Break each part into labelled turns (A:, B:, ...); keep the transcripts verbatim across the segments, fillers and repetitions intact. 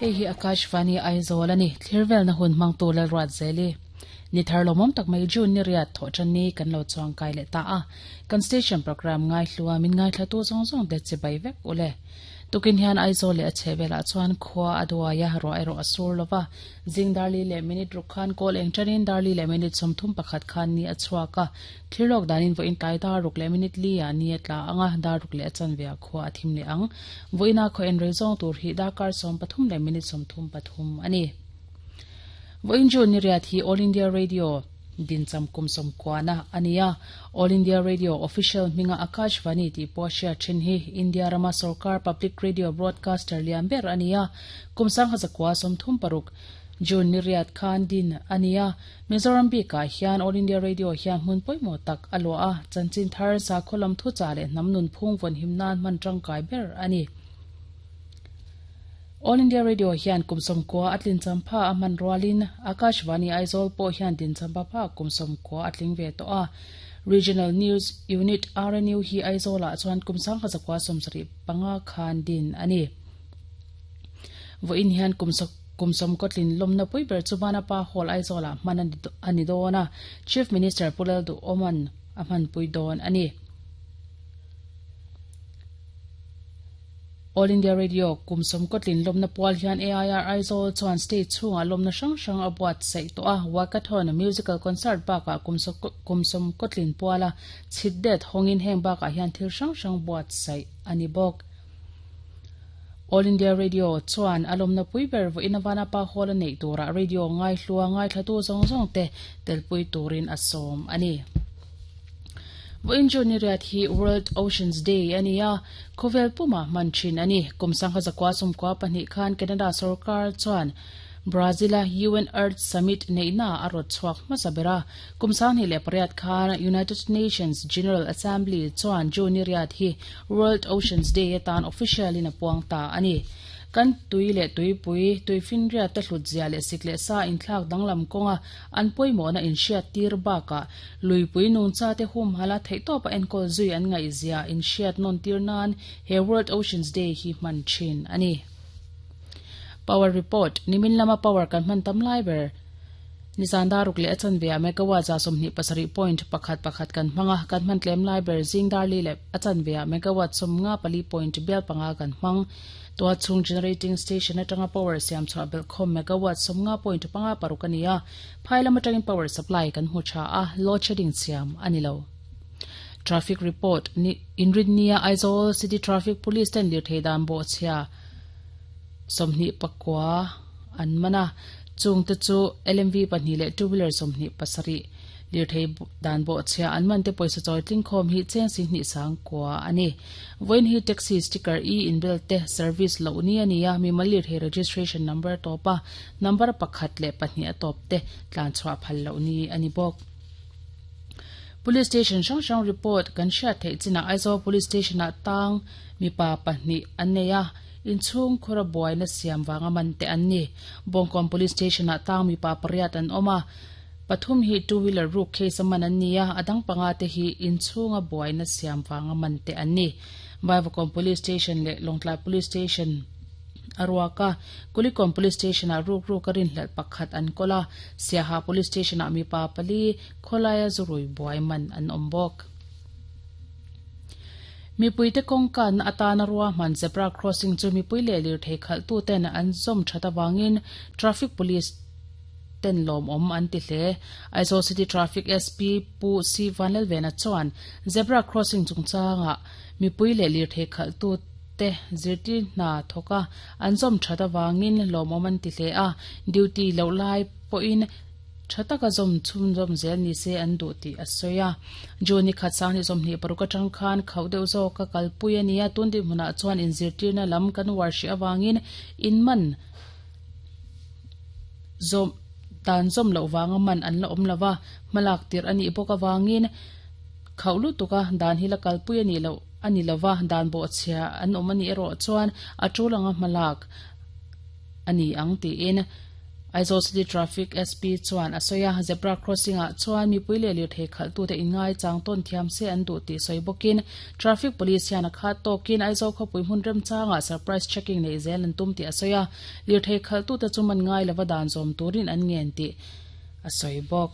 A: Hei hi Akashvani Aizawl ani thirvel na hun mang tu la ruat zeli ni thar lomom tak mai June ni riat tho chan ni kan lo chuang kai le ta a kan station program ngai hluwa min ngai thla tu zong zong de che bai vek ule tukin hian Aizawl le a chhevela chuan khua aduaya ro ero asur lova jing darli le minute rukhan kol eng chanin darli le minute somthum pakhat khan ni achhuaka thilok danin vo in tai da ruk le minute li ya ni atla anga da ruk le chan via khua athim le ang voina kho en rezong tur hi dakar som pathum le minute somthum pathum ani voin June ni riat hi All India Radio din cham kum som kwana ania All India Radio official minga Akashvani ti poshia thin hi India rama sarkar public radio broadcaster liamber ania kumsang hazakwa som thum paruk June ni riat khan din ania Mizoram bi ka hian All India Radio hian mun poimo tak aloa chanchin thar sa kholam thu chale namnun phung von himnan man tangkai ber ani All India Radio hian kumsom kwa atlin champha aman roalin Akashvani Aizawl po hian din champa pha kumsom kwa atling ve to a Regional News Unit R N U hi Aizawl a chuan kumsang khazakwa somsari panga khan din ani vo in hian kumsak kumsom kotlin lomna pui ber chubana pa hall Aizawl a man ani dona Chief Minister Pulal du Oman aman pui don ani All India Radio kumsom kotlin lomna pual hian A I R Aizawl chuan state chunga lomna hrang hrang a buat sei to a walkathon musical concert baka kumsom kumsom kotlin puala chhitdet hongin heng baka hian thil hrang hrang buat sei ani bok All India Radio chuan alomna puiber vo inawana pa hall nei tura radio ngai hlua ngai thlatu zong zong te telpui turin asom ani Voin June ni riat hi World Oceans Day ania khovel puma manchin ani kumsang khazakwa sumkwa pahnih khan Canada sarkar chuan Brazil U N Earth Summit neina arot chuak masabera kumsang hi le pariat khan United Nations General Assembly chuan June ni riat hi World Oceans Day atan official in apuang ta ani kan tui le tui pui tui fin ria te hlut zia le sikle sa in thlak danglam konga an poimo na in hriat tir baka lui pui nung cha te hum hala thei to pa enkol zui an ngai zia in hriat non tir nan he World Oceans Day hi man thin ani Power report nimin lama power kan man tam lai ber nizan daruk le achan ve megawatt za somni pasari point pakhat pakhat kan manga kan man tlem lai ber jing darli le achan ve megawatt somnga pali point bel panga kan mang to chung generating station atanga power siam cha bel khom megawatt somnga point panga parukania phailam atangin power supply kan hu cha a load shedding siam anilo traffic report ni inridnia Aizawl City Traffic Police ten lir theidan bo chhia somni pakwa an mana chung te chu L M V pahnih le two wheeler somni pasari lir thei dan bo chhia an man te poisa choi tling khom hi cheng si ni sang kwa ani voin hi taxi sticker e in bel te service lo ni ania mi malir he registration number topa number pakhat le pahnih atop te tlan chwa phal lo ni ani bok Police station hrang hrang report kan hriat theih china Aizawl Police Station ah tang mi pa pahnih an nei a in chung khura buai na siam wanga man te an ni Bongkon Police Station ah tang mi pa pariat an oma pathum hi two wheeler ruk case man an nia adang panga te hi in chunga buai na siam wanga man te an ni Baivakon Police Station le Longtlai Police Station Arwaka Kulikom Police Station a ruk ruk karin hlal pakhat an kola Siaha Police Station a mi pa pali kholaya zurui buai man an ombok mi puite kongkan atana ruwa man zebra crossing chu mi puile lir thei khal tu ten an zom thata wangin traffic police ten lom om an ti hle Aizawl City Traffic S P Pu C Vanlal Vena chuan zebra crossing chungchanga mi puile lir thei khal tu te zirti na thoka an zom thata wangin lom om an ti hle a duty lo lai po in thataka zom chum zom zel ni se an du ti asoya joni khatsang ni zom ni paruka tang khan khaudeu zo ka kalpui ania tundi huna chuan in zirtir na lam kan warshi awangin in man zom tan zom lo wanga man an la om lawa malak tir ani boka wangin khaulu tuka dan hi la kalpui ani lo ani lawa dan bo chhia an om ani ero chuan atulanga malak ani ang ti in Aizawl City Traffic S P chuan a sawi a, zebra crossing ah chuan mipui leh lirthei khalhtute inngai chang tawn thiam se an duh tih sawi bawkin Traffic Police hian a khat tawkin Aizawl khawpui hmun remchangah surprise checking neih zel an tum tih a sawi a, lirthei khalhtute chu man ngai lova dan zawm turin an ngen tih a sawi bawk.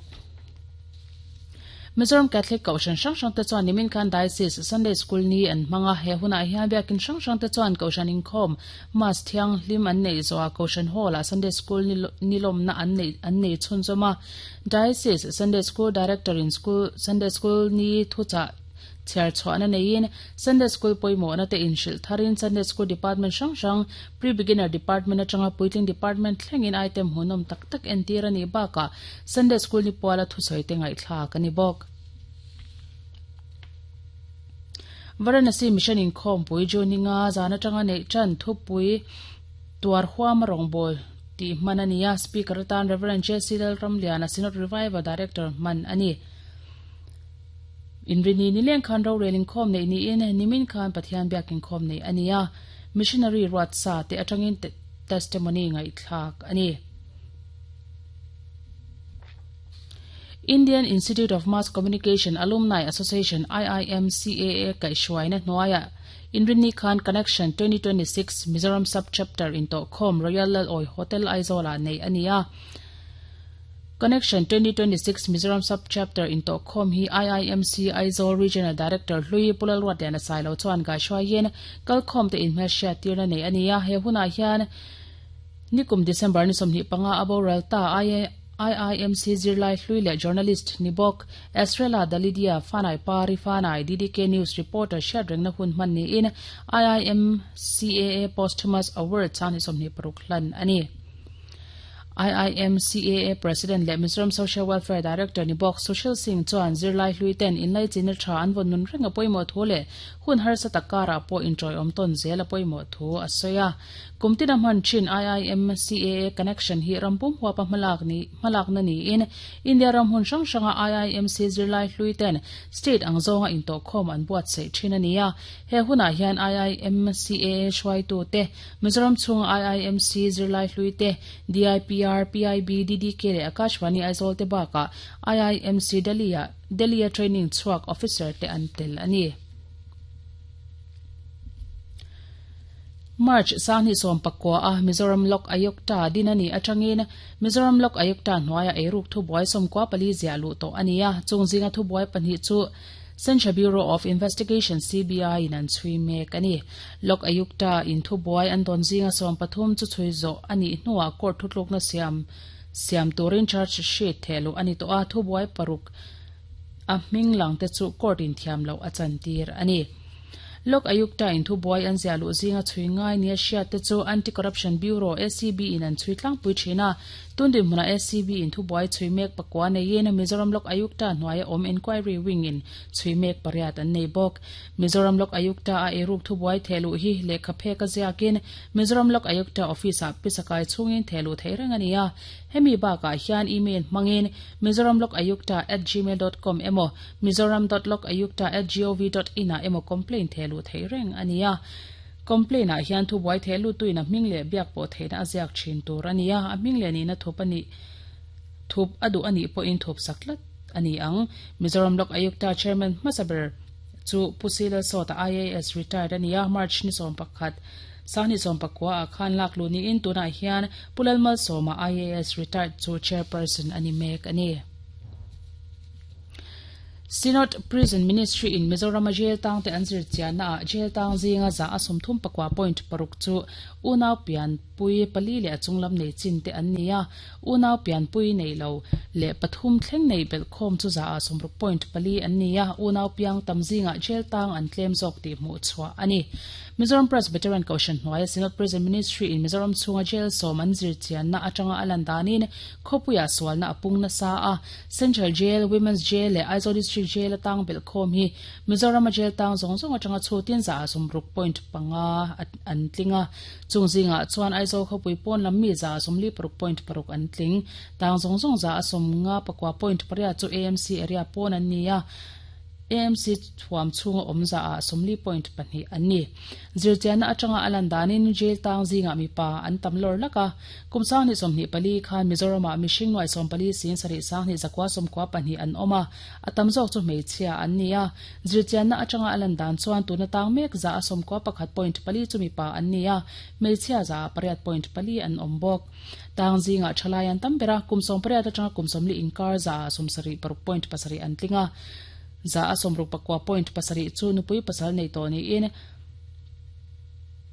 A: Mizoram Catholic Kohhran hrang hrangte chuan nimin khan Diocese Sunday School ni an hmang a, he hunah hian biakin hrang hrangte chuan Kohhran inkhawm Mass thianghlim an neih zawhah Kohhran Hall-ah Sunday School ni lawmna an neih an nei chhunzawm a. Diocese Sunday School Director-in School Sunday School ni thuchah chhiar chhuahna neiin Sunday School pawimawhna te inhrilh tharin Sunday School Department hrang hrang Pre-Beginner Department atanga puitling Department thlengin item hmuhnawm tak tak entir a nih bakah Sunday School ni puala thusawi te ngaihthlak a ni bawk. Varanasi Mission inkhawmpui June ninga zan atanga neih tan thupui tuar huama rawngbâwl tih hman a ni a, Speaker atan Rev. J C Lalramliana, Synod Revival Director hman a ni. Inrini nileng khan rorel inkhawm neih niin nimin khan Pathian biak inkhawm neih a ni a, Missionary ruat sa te atangin testimony ngaihthlak a ni. Indian Institute of Mass Communication Alumni Association, I I M C A A, kaihhruaina hnuaiah Inrinni khan Connection twenty twenty six Mizoram Sub-Chapter intawhkhawm Royal Lalawi Hotel Aizawlah neih a ni a. Connection twenty twenty six Mizoram Sub-Chapter intawhkhawm hi I I M C Aizawl Regional Director hlui Pu Lalruatliana Sailo chuan gaihruaiin kalkhawmte inhmelhriat tirna nei a ni a. He hunah hian nikum December ni sawmhnih panga a boral ta I I M C zirlai hlui leh journalist ni bawk Estrella Dalidia Fanai Pari Fanai D D K News reporter hriatrengna hun hman niin I I M C A A Posthumous Award chang ni sawmhnih paruk hlan a ni. I I M C A A President leh Mizoram Social Welfare Director ni bawk Sushil Singh chuan zirlai hlui ten inlaichinna tha an vawn nun reng a pawimawh thu leh hun harsa tak karah pawh inṭawiawm tawn zel a pawimawh thu a sawi a. Kum tina hman thin I I M C A A Connection hi ram pum huapa hmalak ni hmalakna niin India ram hmun hrang hranga I I M C zirlai hlui ten state ang zawnga intawhkhawm an buatsaih thin a ni a. He hunah hian I I M C A A hruaitute, Mizoram chhunga I I M C zirlai hlui te, D I P R, P I B, D D K leh Akashvani Aizawl te bakah I I M C Delhi-ah Delhi-a training chhuak officer te an tel a ni. March sanghnih sawm pakua a Mizoram Lok Ayukta din a nih atangin Mizoram Lok Ayukta hnuaia eiruk thubuai sawmkua pali ziah luh tawh a ni a, chung zinga thubuai pahnih chu Central Bureau of Investigation, C B I, in an chhui mek a ni. Lok Ayukta in thubuai an dawn zinga sawm pathum chu chhui zawh a nih hnuah court thutlukna siam siam turin charge sheet thehluh a ni tawh a, thubuai paruk a hming lang te chu court in thiam loh a chantir a ni. Lok Ayukta in thubuai an ziah luh zinga chhui ngai nia hriat te chu Anti-Corruption Bureau, A C B, in an chhui tlangpui thin a. Tun dinhmunah A C B in thubuai chhui mek pakua neiin Mizoram Lok Ayukta hnuaia awm Enquiry Wing in chhui mek pariat an nei bawk. Mizoram Lok Ayukta a eiruk thubuai thehluh hi lehkha phek a ziakin Mizoram Lok Ayukta Office ah pisakai chhungin thehluh theih reng a ni a. Hemi bakah hian email hmangin mizoramlokayukta at gmail dot com emaw mizoram dot lokayukta at gov dot in ah emaw complaint thehluh theih reng a ni a. Complaint ah hian thubuai thehlutuin a hming leh biak pawh theihna a ziak thin tur a ni a, a hming leh nihna thup a nih thup a duh a nih pawhin thup sak tlat a ni ang. Mizoram Lok Ayukta Chairman hmasa ber chu Pu Sila Sawta I A S retired a ni a, March ni sawm pakhat Sanghnih sawm pakua ah khan lak luh niin tunah hian Pu Lalmalsawma I A S retired chu Chairperson a ni mek a ni. Synod Prison Ministry in Mizoram a jail tang te an zir chianna ah jail tang zinga za a sawmthum pakua point paruk chu unau pianpui pali leh a chunglam nei chin te an ni a, unau pianpui nei lo leh pathum thleng nei belhkhawm chu za ah sawmruk point pali an ni a, unau piang tam zingah jail tang an tlem zawk tih hmuh chhuah a ni. Mizoram Presbyterian Kohhran hnuaia Synod Prison Ministry in Mizoram chhunga jail sawm an zir chianna atanga a lan danin khawpuiah sualna a pung nasa a, Central Jail, Women's Jail leh Aizawl District Jail a tang belhkhawm hi Mizorama jail tang zawng zawng atanga chhutin za ah sawmruk point panga an tling a, chung zingah chuan Aizawl khawpui pawn lam mi za ah sawmli paruk point paruk an tling. Tang zawng zawng za a sawmnga pakua point pariat chu A M C area pawn an ni a. A M C thuam chhunga awmza ah sawmli point pahnih an ni. Zirchianna atanga a lan danin jail tang zingah mipa an tam lawr lak a. Kum sanghnih sawmhnih pali khan Mizoramah mihring nuai sawm pali sing sarih sanghnih zakua sawmkua pahnih an awm a, a tam zawk chu hmeichhia an ni a. Zirchianna atanga a lan dan chuan tuna tang mek za a sawmkua pakhat point pali chu mipa an ni a, hmeichhia za ah pariat point pali an awm bawk. Tang zingah thalai an tam ber a, kum sawm pariat atanga kum sawmli inkar za ah sawmsarih paruk point pasarih an tling a. Za a sawmruk pakua point pasarih chu nupui pasal nei tawh niin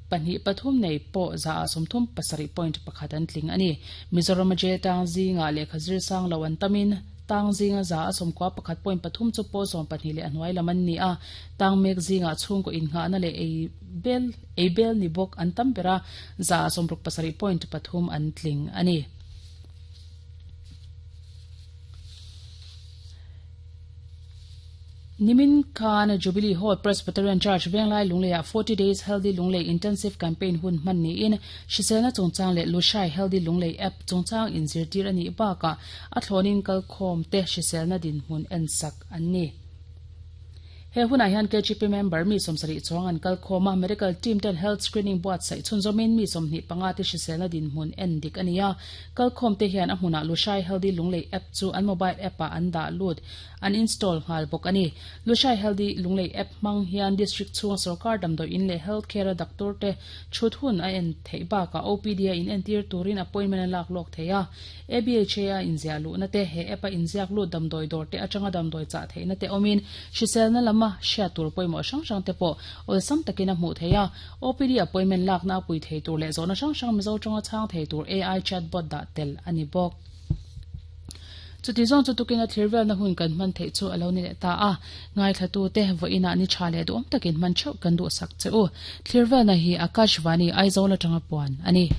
A: pahnih pathum nei pawh za a sawmthum pasarih point pakhat an tling a ni. Mizoram a jail tang zingah lehkha zir sang lo an tamin tang zinga za a sawmkua pakhat point pathum chu pawl sawm pahnih leh a hnuai lam an ni a. Tang mek zingah chhungkaw innghahna leh ei bel ei bel ni bawk an tam ber a, za a sawmruk pasarih point pathum an tling a ni. Nimin khan Jubilee Hall Presbyterian Church Venglai Lunglei ah forty Days Healthy Lunglei Intensive Campaign hun hman niin hriselna chungchang leh Lushai Healthy Lunglei App chungchang inzirtir a nih bakah a thlawnin kalkhawm te hriselna dinhmun en sak an ni. He hunah hian K G P member mi sawmsarih chuang an kalkhawm a, medical team ten health screening buatsaih chhunzawmin mi sawmhnih panga te hriselna dinhmun en dik a ni a. Kalkhawm te hian a hmunah Lushai Healthy Lunglei App chu an mobile app ah an dah lut, an install nghal bawk a ni. Lushai Healthy Lunglei App hmang hian district chhunga sarkar damdawi in leh health care a doctor te thut hun a en theih bakah O P D a inentir turin appointment a lak lawk thei a. A B H A a inziah luhna te, he app a inziak lut damdawi dawr te atanga damdawi chah theihna te awmin hriselna lama hriat tur pawimawh hrang hrang te pawh awlsam takin a hmuh thei a. O P D appointment lakna a pui thei tur leh zawhna hrang hrang Mizo tawnga chhang thei tur A I chatbot dah tel a ni bawk. Chuti zawng chu tukin a thlir velna hun kan hman theih chu a lo ni leh ta a. Ngaithlatu te vawiinah ni tha leh duhawm takin hman theuh kan duhsak che u. Thlir velna hi Akashvani Aizawl atanga puan a ni.